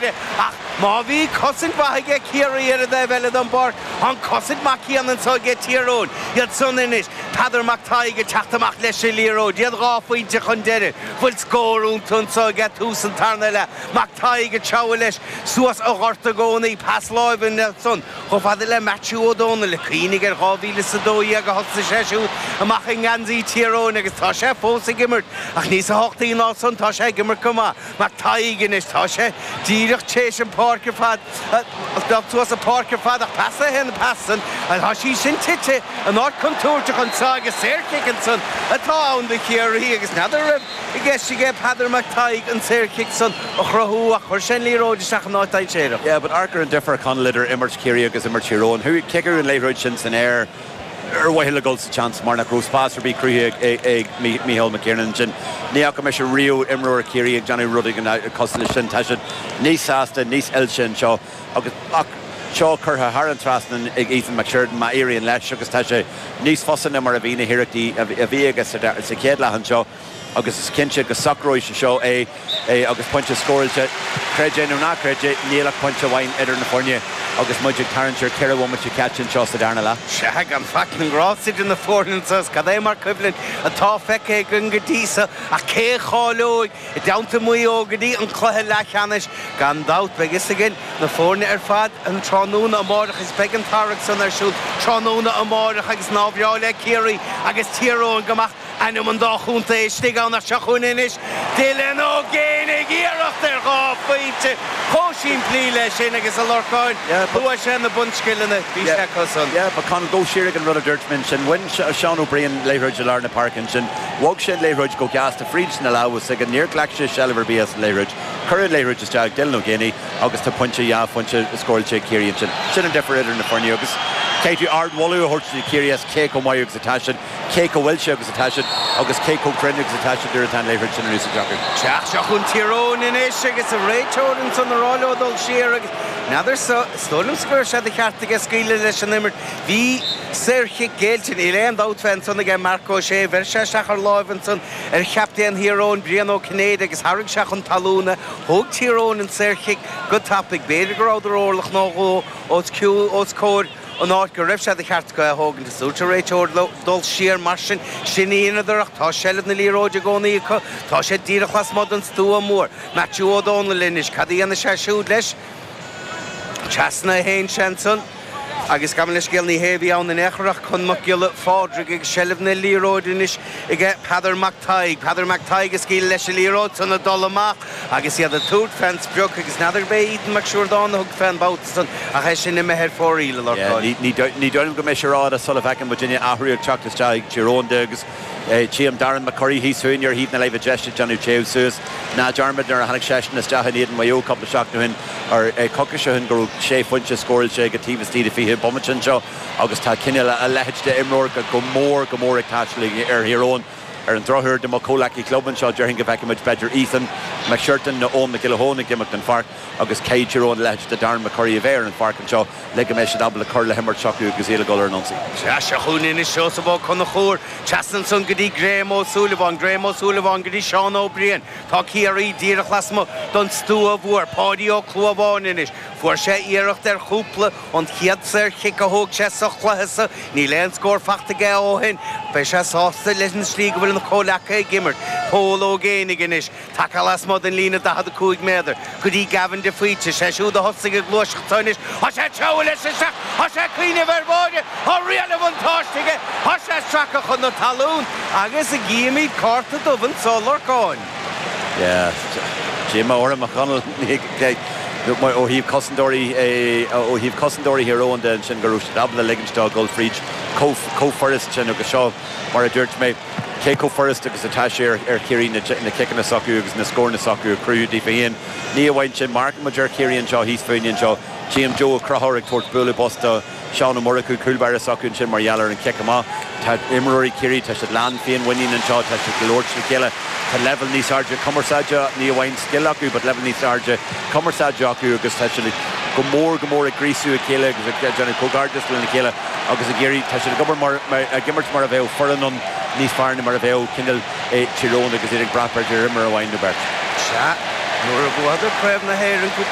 bháire ach má bhí cosaint mhaith aige Ciarraí ar an dtaobh eile den bpáirc, tá an cosaint maith céanna anso aige Tír Eoghain. Iad san anois, Peadar Mac Tadhg ag teacht amach leis an liathróid, iad 2 phointe chun deiridh. Bhfuil scór iontu anso aige tús an tarna leath. Mac Tadhg ag treabhadh leis suas an ghort i gcónaí, pas láimhe ansan. Chomh fada le Maitiú Ó Dónaill, cuimhnigh ar 2012 a thosaigh sé siúd amach i ngeansaí Tír Eoghain agus tá sé fós ag imirt, ach níos tábhachtaí ná san, tá sé ag imirt go maith. Mac Tadhg anois, tá sé díreach tréis an pháirc ar fad, dul suas an pháirc ar fad ach pas a haon pas san, tá sí sin tite in áit contúirteach anso agus saorchic ansan atá ann do Chiarraí agus n'fheadar an raibh i gceist aige Peadar Mac Tadhg an saorchic san a chruthú ach chuir sé an liathróid isteach in áit dainséarach. Yeah, but amharc ar an difear, Conall, idir imirt Chiarraí agus imirt Thír Eoghain. Chuaigh, ciceadh an liathróid sin san aer ar mhaithe le dul sa tseans mar nach raibh spás ar bith cruthaithe ag Micheál McKiernan ansin. Ní fhaca mise riamh imreoir Chiarraí ag déanamh rud éigin cosúil leis sin. Tá siad níos sásta, níos oilte anseo agus, ach seo curtha thar an trasnán ag Ethan McSheridan má éiríonn leis agus tá sé níos fusa ná mar a bhí na hiarrachtaí a bhí aige sa chéad leath anseo. agus is cinnte go socróidh sé seo é agus pointe scóráilte. Creid é nó ná creid é, níl ach pointe amháin idir na foirne agus muid ag tarraingt ar 4 bhomaite caite anseo sa darna leath. Sea, gan faic na ngrást idir na foirne anseo is cad é mar coimhlint atá feicthe againn go dtí so ach cé a cháileoidh i dteannta Mhaigh Eo go dtí an cluiche leathcheannais? Gan dabht, beidh fhios againn na foirne ar fad an tráthnóna amáireach is beidh an tarrac san ar siúl tráthnóna amáireach agus nár bhreá le Ciarraí agus Tír Eoghain go mbeadh Ainm an dá chontae istigh ann ach seo chugainn anois Dylan Ó Géibheannaigh, iarracht ar dhá phointe chomh simplí leis sin agus a Lorcáin, luaigh sé na bunscileanna, bhí sé acu san. Yeah, but Conall, go siar ag an rud a dúirt mé ansin. Bhain Seán Ó Briain liathróid i lár na páirce ansin. Bhog sé an liathróid go gasta fríd na lámha s'aige. Níor ghlac sé seilbh ar bith as an liathróid. Cuireadh an liathróid isteach ag Dylan Ó Géibheannaigh agus tá pointe, dhá phointe scóráilte ag Ciarraí ansin. Sin an difear idir na foirne agus caithfidh tú ardmholadh a thabhairt do Chiarraí as cé chomh maith agus atá siad. cé chomh hoilte agus atá siad agus cé chomh cruinn agus atá siad nuair atá an liathróid sin in úsáid acu. Sea, seo chugainn Tír Eoghain anois agus an réiteoir ansan ag rá leo dul siar agus n'fheadar so, is dóigh liomsa go raibh sé de cheart aige scaoileadh leis an imirt. Bhí saorchic géillte, níl aon dabht fé ansan aige Marc Ó Sé, bheir sé isteach ar láimh ansan ar chaptaen Thír Eoghain, Brian Ó Cinnéide agus tharraing sé chun talún é. Thóg Tír Eoghain an saorchic go tapaidh. B'fhéidir go rabhadar orlach nó dhó os comhair an áit go raibh sé de cheart acu é a thógaint. Is dúirt an réiteoir leo dul siar mar sin. Sin a dheineadar ach tá seilbh na liathróide i gcónaí acu. Tá sé díreach lasmuigh den stua mór. Maitiú Ó Dónaill anois. Cad a dhéanfaidh sé siúd leis? Trasna a théann sé ansan agus gabh mo leithscéal ní hé a bhí ann in aon chor ach Con Mac Giolla Phádraig agus seilbh na liathróide anois aige Peadar Mac Tadhg. Peadar Mac Tadhg ag scaoileadh leis an liathróid san ag dul amach agus iad ag tabhairt fén sprioc agus n'fheadar ab é Ethan Mac Siúrdáin a thug fén babhta san ach é sin imithe ar fóraoil, a Lorcáin. Ní dóigh liom go mbeidh sé rófhada sula bhfeiceann muidinne athrú ag teacht isteach ag Tír Eoghain de agus tchím Darren McCurry thíos fúinn ar thaobh na láimhe deise ag déanamh téamh suas. Ná dearmad nuair a tháinig seisean isteach in éadan Mhaigh Eo cúpla seachtain ó shin, ar coicís ó shin, go raibh sé phointe scóráilte aige taobh istigh de 20 bomaite anseo agus tá cineál a leithéid de imreoir go mór go mór ag teastáil ar Thír Eoghain. Ar an drochuair do mo chomhleacaí club anseo, déarfainn go bhfeicfidh muid b'fhéidir Ethan McShirton nó Eoin Mac Giolla Eoin ag imeacht den pháirc agus caithfidh Tír Eoghain a leithéid de Darren McCurry a bheith ar an pháirc anseo le go mbeidh siad ábalta cur le himirt s'acu agus iad ag dul ar an ionsaí. Sea, seo chugainn anois Seosamh Ó Conchúir, trasna ansan go dtí Graham Ó Súilleabháin, Graham Ó Súilleabháin go dtí Seán Ó Briain. Tá Ciarraí díreach lasmuigh den stua mhór. Páidí Ó Clúmháin anois. Fuair sé iarracht ar chúpla An chéad saorchic a thóg sé sa chluiche so, níl aon scór fachta aige ó shin. Beidh sé sásta leis an slí go bhfuil a chomhleacaithe ag imirt. Pól Ó Géibheannaigh anois, tagtha lasmuigh den líne 45 méadar, go dtí Gavin de Faoite. Sé siúd a thosaigh ag gluaiseacht so anois. Tá sé ag treabhadh leis isteach! Tá sé ag cuimhneamh ar bháire! Tá riail an bhuntáiste aige! Tá sé ag sracadh chun na talún agus an gcífimid cárta dubh anso, a Lorcáin. Yeah, díomá orm a Chonaill, ó thaobh cosantóirí, ó thaobh cosantóirí Thír Eoghain de ansin go raibh siad ábalta ligint dó dul fríd chomh furast sin agus seo mar a dúirt mé, cé chomh furast agus atá sé ar Chiarraí na ciceanna s'acu agus na scóranna s'acu a chruthú daofa féin. Ní amháin sin, amharcann muid ar Chiarraí anseo thíos fúinne anseo, tchím Joe Ó Conchúir ag tabhairt bualadh bos do Seán Ó Murchú, cúl báire s'acu ansin mar gheall ar an chic amach. Tá imreoirí Chiarraí, tá siad lán féinmhuinín anseo, tá siad ag labhairt le chéile. Tá leibhéal níos airde cumarsáide, ní amháin scil acu, but leibhéal níos airde cumarsáide acu agus tá siad go mór go mór ag gríosú a chéile agus ag déanamh comhghairdeas lena chéile agus ag iarraidh, tá siad ag obair mar, ag imirt mar a bheadh foireann ann níos fearr ná mar a bheadh cineál Tír Eoghain agus iad ag brath b'fhéidir ar imreoir amháin nó beirt. Sea, nuair a bhuadar Craobh na hÉireann cúpla.